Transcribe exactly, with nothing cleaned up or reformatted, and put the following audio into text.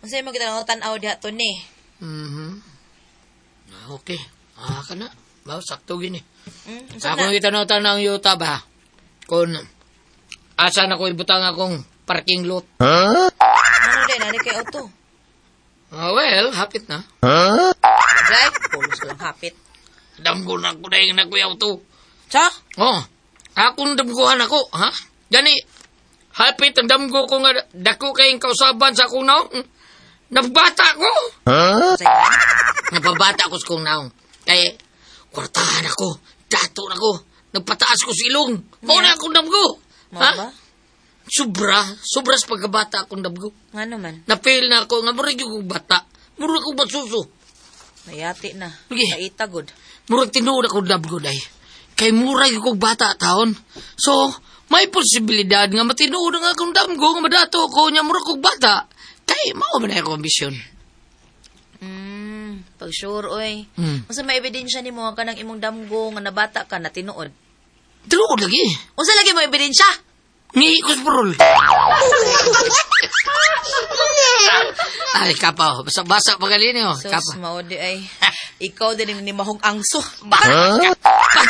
Unsa imong gitanaw-tanaw diha to ni? Mhm. Ah, okay. Ah, kana. Ba, sakto gini. Mm, unsa Ako na? gitanaw-tanaw ang yuta ba? Kung asa na ko ibutang akong parking lot. Ano din, nani kay auto? Ah, well, hapit na. Drive, pulos ko lang hapit. Damgo na ko dahil na ko auto. Sa? Oh, akong damguhan ako, ha? Gani, hapit ang damgo ko nga dako kayong kausaban sa akong naong. Nagbata ko. Sa Napabata ko sa kong naong. Kay, kwartahan ako, dato na ko, nagpataas ko sa ilong. Mao na akong damgo. Mao Ha? ba? Sobra, sobra sa pagkabata akong damgo. Nga naman, Na-fail na ako, nga murag yung bata. Murag akong basuso. nayati na. Sige. Naitagod. Murag tinuod akong damgo day. Kay murag akong bata taon. So, may posibilidad nga matinuod ang akong damgo nga madato ko nya murag kong bata. Kay mao man na akong ambisyon. Mm, pag sure oy. Mm. Unsa may ebidensya nimo nga kanang imong damgo nga nabata ka na tinuod? Tinuod lagi. Unsa lagi mo ebidensya? Ni ko sa parol. Ay, kapa. Basa-basa pa gali niyo. Sus, Kapa. mao di ay. Ikaw din ni mahong angso. Huh?